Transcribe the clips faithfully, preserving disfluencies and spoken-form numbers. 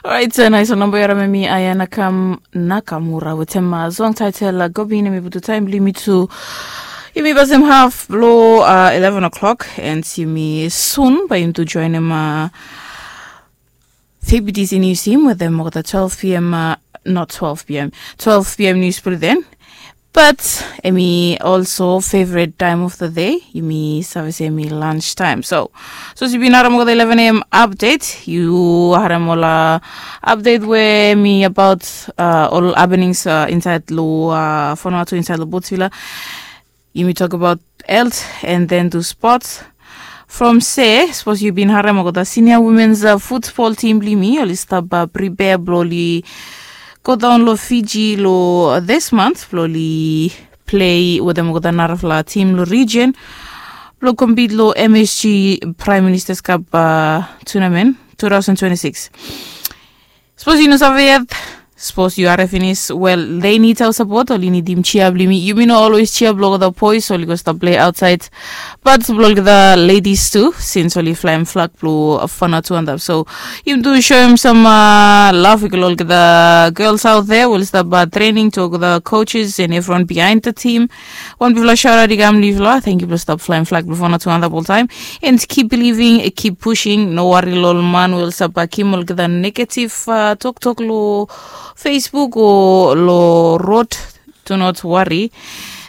Orait, nais ol namba yu harim em i Aya Nakam Nakamura wetem song title Gobin. Em i putum taem blong yumi tu yumi pasem haf blong eleven o'clock, and yumi sun bae yumi tu joenem Febidis in Museum wetem olgeta twelve p.m. Not twelve p.m., twelve p.m. News Bulletin. But em i also favorite time of the day. Yumi save se em i lunch time. So, sapos yu bin harim olgeta eleven a.m. update, yu harim ol update we em i abaot ol happenings insaed long Vanuatu, insaed long Botsvila. Yumi tokbaot health and then tu sports. From se, sapos yu bin harim olgeta senior women's futbol tim blong yumi oli stap pripea blong oli godaon long Fiji long this month blong oli plei wetem olgeta narafala tim long region blong compete long MSG Prime Minister's Cup tournament two thousand twenty-six. Sapos yu no save yet, sapos yu harim finis, well, they need our support. Oli nidim jia blong yumi. Yumi no always jia blong olgeta boys oli go stap plei aotsaed, but blong olgeta ladies tu, since oli flaem flag blong Vanuatu antap. So yumi tu soem sam love i go long olgeta girls out there we oli stap trening, tu olgeta coaches and evriwan bihaen the team. Wan bigfala shout out i kam long yufala. Tangkiu blong stap flaem flag blong Vanuatu antap oltaem. And keep believing, keep pushing. No wari long ol man we oli stap givim olgeta negative toktok long Facebook o long rod. Do not worry.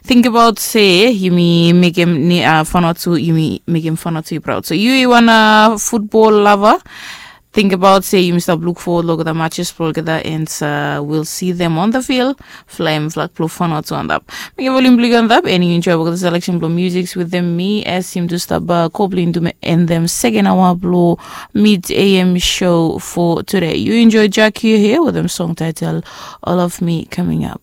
Tingbaot se yumi mekem Vanuatu, yumi mekem Vanuatu i praod. So yu i wan futbol lava, tingbaot se yumi stap luk fowod long olgeta matches blong olgeta, and we'll see them on the field flaem flag blong Vanuatu antap. Mekem volim blong yu antap, and yu enjoy olgeta selection blong music wetem mi as yumi tu stap go blong yumi tu end the second hour blong Mid A M show for today. Yu enjoy Jack here here wetem song title All of Me coming up.